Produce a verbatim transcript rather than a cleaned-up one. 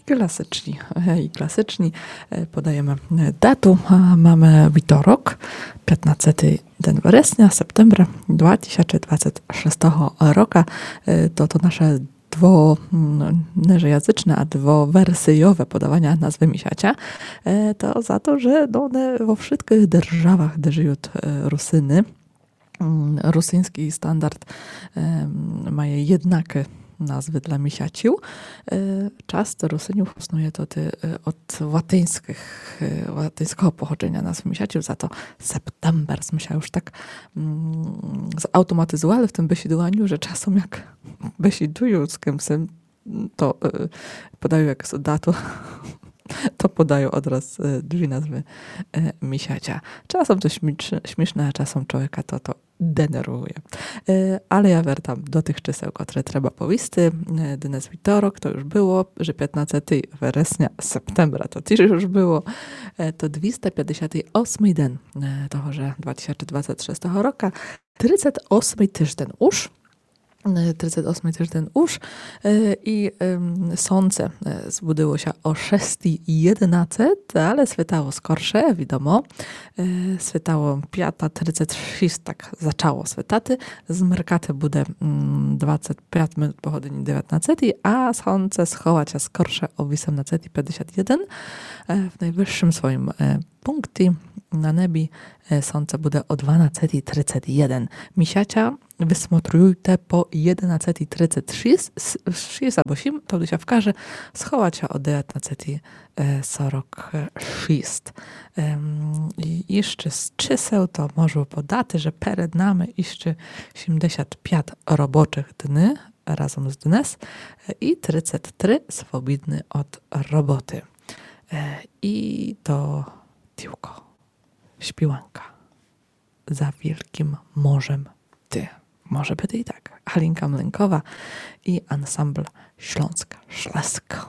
Класичні, е, і класичні. Е, подаєме, е, дату. А, маме вівторок, пятнадцятый ден вересня, септембра, два тисячы двадцять шестого рока. Е, то, то наше дво-, м, не же язычне, а двоверсийове подаwanie nazwy місяця. Е, то за то, же, но, не во вшыткых державах, де жыют, е, Русины, м, русиньскій стандарт, ем, має єднакі назвы для місяців. Е, часто Русинів хоснує то, е, од латиньскых, е, латиньского походженя назвы місяців, за то септембер. Мы ся уж так, м, заавтоматизували в тым бесідуваню, же часом як бесідую з кымсь, то, е, подаю якусь дату, то подаю одраз, е, дві назвы, е, місяця. Часом то сміш-, смішне, а часом чловіка то, то денервує. Е, але я вертам до тых чисел, котры треба повісти. Е, днес вівторок, то уж было, же пятнадцятый вересня, септембра, то тіж уж было. Е, то двіста пятдесятый осмый ден, е, того же два тисячы двадцять шестого рока. Тридцять осмый тыжден уж. Е, тридцять осмый тыжден уж. Е, і, ем, сонце, е, збудило ся о шестій єднадцять, але світало скорше, відомо. Е, світало пята тридцять шіст, так зачало світати. Змеркати буде, м, двадцять пять минут по годині девятнадцятій, а сонце сховать ся скорше о вісемнадцятій пятдесят єден. Е, в найвышым своім, е, пункті на небі, е, сонце буде о дванадцятій тридцять єден. Місяця высмотрюйте по єднанадцятій тридцять шіст, с-, шіст або сім, то ся вкаже, сховать ся о девятнадцятій, е, сорок шіст. Ем, і іщы з чисел то можу подати, же перед нами іщы сімдесят пять робочых дни разом з днес, е, і тридцять три свобідны од роботы. Е, і то тілько. Співанка. За вілкім морем ты. Може быти і так. Галінка Млинкова і ансамбл Śląsk Szlësk.